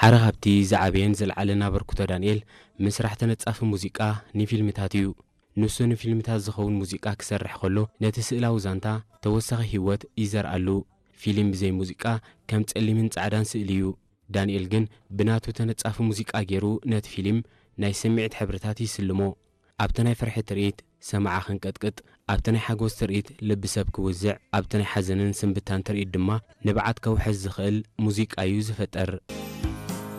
ሓደ ካብቲ ዝዓበየን ዝለዓለን ኣበርክቶ ዳንኤል ምስራሕ ተነጻፊ ሙዚቃ ንፊልምታት እዩ። ንሱ ንፊልምታት ዝኸውን ሙዚቃ ክሰርሕ ከሎ ነቲ ስእላዊ ዛንታ ተወሳኺ ህይወት ይዘርኣሉ። ፊልም ብዘይ ሙዚቃ ከም ጸሊምን ጻዕዳን ስእሊ እዩ። ዳንኤል ግን ብናቱ ተነጻፊ ሙዚቃ ገይሩ ነቲ ፊልም ናይ ስምዒት ሕብርታት ይስልሞ። ኣብቲ ናይ ፍርሒ ትርኢት ሰማዓ ክንቀጥቅጥ፣ ኣብቲ ናይ ሓጎስ ትርኢት ልቢ ሰብ ክውዝዕ፣ ኣብቲ ናይ ሓዘንን ስንብታን ትርኢት ድማ ንብዓት ከውሕዝ ዝኽእል ሙዚቃ እዩ ዝፈጥር።